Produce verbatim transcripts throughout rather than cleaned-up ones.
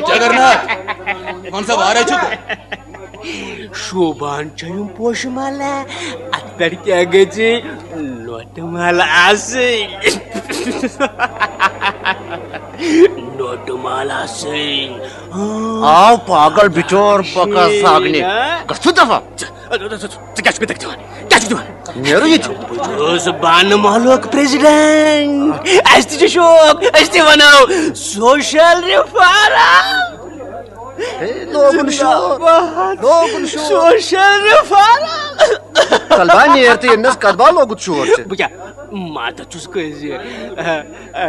جگرناتھ، وَن سا وارے چھُکھ؟ شوٗبان چھےٚ یِم پوشہٕ مالہٕ، اَتھ پٮ۪ٹھ کیٛاہ گژھِ؟ نوٹہٕ مال آسٕنۍ۔ نوٹہٕ مال آسٕنۍ۔ آو پاگل بچور پکا ساگنہِ۔ گژھو دفعہ۔ ژٕ کیٛاہ چھُکھ مےٚ تَتہِ دِوان؟ کیٛاہ چھُکھ دِوان؟ نیرو ییٚتہِ۔ بہٕ چھُس بانہٕ محلُک پریزیڈنٹ۔ اَسہِ تہِ چھُ شوق، أسۍ تہِ وَنو سوشل ریفارم۔ ہے، لوگُن شور۔ زِندہ باد۔ لوگُن شور۔ Social reform. کلبا نیر تہٕ ییٚمِس کلبا لوگُت شور ژےٚ۔ بہٕ کیٛاہ ماتھ چھُس کٲنٛسہِ؟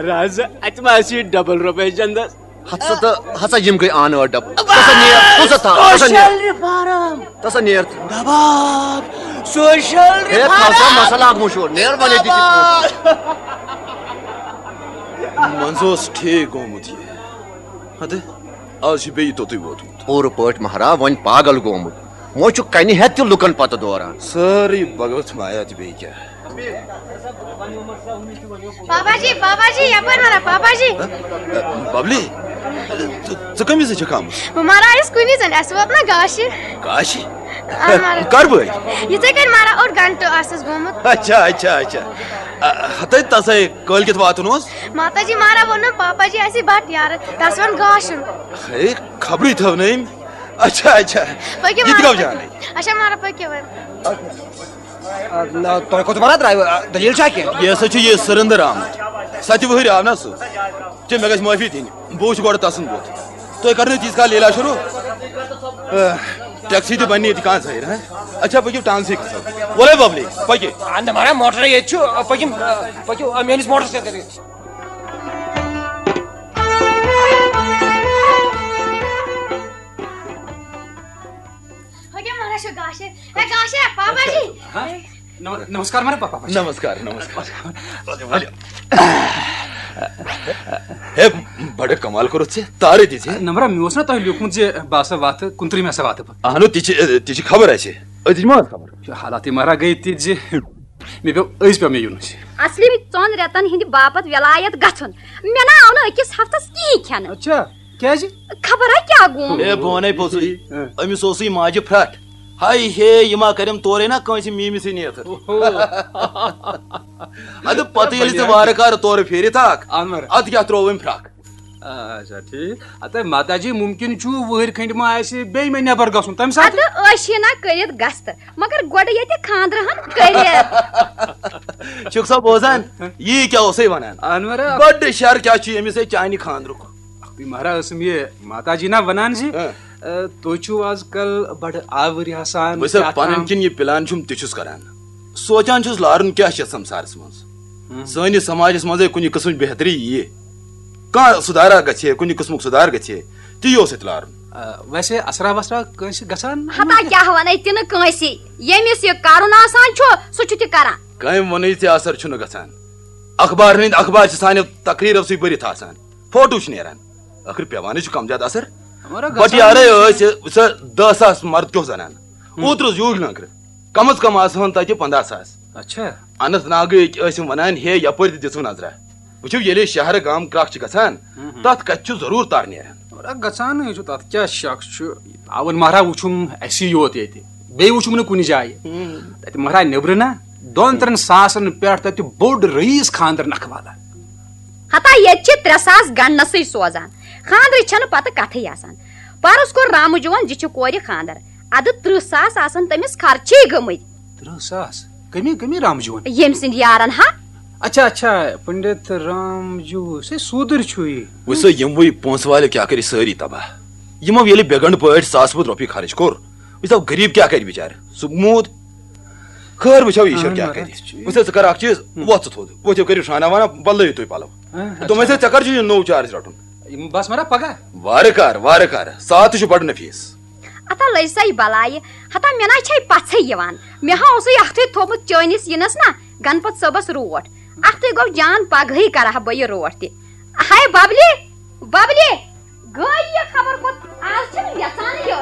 رازٕ، اَتہِ ما آسہِ یہِ ڈبل رۄپے چندس؟ ہتسا تہٕ ہسا یِم گٔے آن ٲٹھ ڈبہٕ۔ ژٕ ہسا نیر، ژٕ ہسا تھاو، ژٕ ہسا نیر۔ Social reform. ژٕ ہسا نیر۔ دباب۔ سوشل ہے، تھاو سا ریفارم۔ مسا لاگ مشہور۔ نیر ونے دِتھ۔ دباب۔ منٛزٕ اوس ٹھیٖک گوٚمُت یہِ۔ ہتہٕ، آز چھُ بیٚیہِ توٚتُے ووتمُت۔ پوٗرٕ پٲٹھۍ مہراہ وۄنۍ پاگل گوٚمُت۔ وۄنۍ چھُ کنہِ ہٮ۪تھ تہِ لُکن پتہٕ دوران۔ سٲرٕے بھگت مایا تہٕ بیٚیہِ کیٛاہ۔ بابا جی، بابا جی، یپٲرۍ وَنان، بابا جی۔ ببلی، ژٕ، ژٕ کَمہِ وِزِ چھَکھ آمٕژ؟ بہٕ مَرٕ آیَس کُنی زٔنۍ، اَسہِ ووت نہ گاشہِ۔ گاشہِ؟ آ، مَرٕ۔ کَر بٲگۍ؟ یِتھَے کٔنۍ مَرٕ اوٚڑ گھنٹہٕ آسَس گوٚمُت۔ اچھا، اچھا، اچھا۔ آ، ہَتَے تَسَے کٲلۍکٮ۪تھ واتُن اوس؟ ماتا جی، مارا ووٚنُن، پاپا جی آسہِ بَٹہٕ یارٕ، تَس وَن گاشُن۔ ہے، خبرٕے تھٲو نہٕ أمۍ۔ اچھا، اچھا۔ پٔکِو، یہِ تہِ مارا، گوٚو پٔکِو۔ جانٕے۔ اچھا، مارا، پٔکِو وۄنۍ۔ آ، نہ، تۄہہِ کوٚت وَنان درٛایہِ؟ آ، دٔلیٖل چھا کینٛہہ؟ یہِ ہسا چھُ یہِ سٔرٕندٕ آمُت۔ سَتہِ وٕہٕرۍ آو نہ سُہ۔ ژےٚ مےٚ گژھِ معٲفی دِنۍ۔ بہٕ وٕچھِ گۄڈٕ تَسُنٛد بُتھ۔ تُہۍ کَرنٲیِو تیٖتِس کال لیلا شروٗع۔ آ، ٹیکسی تہِ بَنہِ ییٚتہِ کانٛہہ ظٲہِر، ہہ؟ اچھا، پٔکِو ٹانسٕے کھسو۔ وَلَے بَبلی، پٔکِو۔ آ، نہ، مَرا موٹرٕے ییٚتہِ چھُ، آ، پٔکِو، آ، پٔکِو، آ، میٛٲنِس موٹرَس سۭتۍ کٔرِو۔ ہۄ کیٛاہ وَنان چھُ گاشہِ؟ ہے گاشہِ، پاپا جی۔ ہاں؟ نم-، نمسکار مارا پاپا جی۔ نمسکار، نمسکار۔ ؤلِو، ؤلِو۔ ہے، بڑٕ کمال کوٚرُتھ ژےٚ، تارٕ دِژ ہے۔ نمبرا، مےٚ اوس نا تۄہہِ لیوٗکھمُت زِ بہٕ ہسا واتہٕ کُنترٕہ، مےٚ ہسا واتہٕ بہٕ۔ اہنو، تہِ چھِ، تہِ چھِ خبر اَسہِ۔ أزِچ ما ٲس خبر؟ یہِ حالاتٕے مہراہ گٔے تِژھ زِ مےٚ پیوٚو أزۍ پیوٚو مےٚ یُن۔ اصلی ژۄن رٮ۪تن ہٕنٛدِ باپتھ وِلایت گژھُن۔ مےٚ نہ آو نہٕ أکِس ہفتس کِہیٖنۍ کھٮ۪نہٕ۔ اچھا، کیٛازِ؟ خبر ہا کیٛاہ گوٚو۔ ہے، بہٕ وَنے پوٚزُے۔ ہاں۔ أمِس اوسُے ماجہِ پھرٛٹھ۔ ہاے ہے، یہِ ما کَرٮ۪م تورَے نا کٲنٛسہِ میٖمِسٕے نیتھٕ۔ اوہو۔ اَدٕ پتہٕ ییٚلہِ ژٕ وارٕ کارٕ تورٕ پھیٖرِتھ آکھ، اَنوَر۔ اَدٕ کیٛاہ ترٛوو أمۍ پھرٛکھ؟ اچھا، ٹھیٖک۔ ہتے ماتا جی، مُمکِن چھُ وُہٕرۍ کھٔنٛڈۍ ما آسہِ بیٚیہِ مےٚ نٮ۪بر گژھُن، تَمہِ ساتہٕ؟ اَدٕ أسۍ چھِ نہ کٔرِتھ گژھٕ، مگر گۄڈٕ ییٚتہِ خانٛدرٕ ہن کٔرِتھ۔ چھُکھ سا بوزان؟ یی کیٛاہ اوسَے وَنان؟ اَنوَر۔ بٔڈ شر کیٛاہ چھُ ییٚمِس ہے چانہِ خانٛدرُک؟ اَکھتُے مہراہ ٲسٕم یہِ ماتا جی نا وَنان زِ، ہاں۔ اَ، تُہۍ چھِو آز کل بڑٕ آوٕرۍ آسان، وٕچھ سا، کیٛاہ پنٕنۍ تام۔ کِنۍ یہِ پلان چھُم تہِ چھُس کران۔ سونٛچان چھُس لارُن کیٛاہ چھِ یَتھ سمسارس منٛز۔ ہم۔ سٲنِس سماجس منٛزے کُنہِ قٕسمٕچ بہتری یِیہِ۔ کانٛہہ سُدھارا گژھِ ہے، کُنہِ قٕسمُک سُدھار گژھِ ہے، تہِ یہِ اوس اَتہِ لارُن۔ آ، ویسے اسرا وسرا کٲنٛسہِ گژھان؟ ہتا کیٛاہ ونے تہِ نہٕ کٲنٛسہِ۔ ییٚمِس یہِ کرُن آسان چھُ، سُہ چھُ تہِ کران۔ کٔمۍ ووٚنُے ژےٚ اثر چھُنہٕ گژھان؟ اخبارن ہٕنٛدۍ اخبار چھِ سانیو تقریٖرو سۭتۍ بٔرِتھ آسان۔ فوٹو چھِ نیران۔ ٲخٕر پٮ۪وانٕے چھُ کم زیادٕ اثر۔ مگر بٹ گژھان یارے ٲسۍ سۄ دَہ ساس مرد کیُتھ زنان۔ ہُم۔ اوترٕ اوس یوٗرۍ لنٛکرٕ۔ کم از کم آسہٕ ہن تتہِ پنٛداہ ساس۔ اچھا۔ اننت ناگٕکۍ ٲسۍ یِم ونان، ہے، یپٲرۍ تہِ دِژٕو نظرا۔ وٕچھِو، ییٚلہِ أسۍ شہرٕ گام کرٛکھ چھِ گژھان، ہم ہم۔ تتھ کتہِ چھُ ضروٗر تر نیران۔ مگر گژھانٕے چھُ، تتھ کیٛاہ شک چھُ؟ آوُن مہراہ وُچھُم اسی یوت ییٚتہِ، بیٚیہِ وُچھُم نہٕ کُنہِ جایہِ۔ ہم۔ تتہِ مہراہ نیٚبرٕ نا، دۄن ترٛٮ۪ن ساسن پٮ۪ٹھ تتہِ بوٚڑ رئیس خانٛدر نکھٕ والا۔ ہتا ییٚتہِ چھِ ترٛےٚ ساس گنڈنسٕے سوزان، خانٛدرٕچ چھنہٕ پتہٕ کتھٕے آسان۔ پرُس کوٚر رامہٕ جون زِ چھِ کورِ خانٛدر، ادٕ ترٕٛہ ساس آسن تٔمِس خرچے گٔمٕتۍ۔ ترٕٛہ ساس؟ کٔمی، کٔمی رامہٕ جون؟ ییٚمۍ سٕنٛدۍ یارن ہا۔ اچھا، اچھا، پنڈت رام جو، سے سوٗدُر چھُ یہِ۔ وٕچھ سا، یِموٕے پونٛسہٕ والٮ۪و کیٛاہ کٔرۍ سٲری تباہ۔ یِمو ییٚلہِ بے گنڈ پٲٹھۍ ساسہٕ بوٚد رۄپیہِ خرٕچ کوٚر، وٕچھ سا، غریٖب کیٛاہ کرِ بِچارٕ؟ سُہ موٗد۔ خٲر، وٕچھو ایٖشور اہن کیٛاہ مگر کرِ۔ اَتھ چھُ یہِ۔ وٕچھ سا، ژٕ کر اکھ چیٖز، ہُم۔ وۄتھ ژٕ تھوٚد، ؤتھِو کٔرِو شانہ وانہ، بدلٲیِو تُہۍ پلو۔ اہن، دوٚپمَے اچھا۔ ژےٚ، ژےٚ کر چھُ یہِ نوٚو چارج رٹُن؟ یِم بس مگر پگاہ۔ وارٕ کار، وارٕ کار، ساتھ تہِ چھُ بڑٕ نفیٖس۔ ہتا لٔج سا یہِ بلایہِ، ہتا مےٚ نہ چھے پژھے یِوان۔ مےٚ ہا اوسُے اکھتُے تھوٚومُت چٲنِس یِنس نا گنپت صٲبس روٹھ۔ اکھتُے گوٚو جان، پگہٕے کرٕ ہا بہٕ یہِ روٹھ تہِ۔ ہاے ببلہِ، ببلہِ، گٔے یہِ خبر کوٚت؟ آز چھِنہٕ یژھانٕے یہِ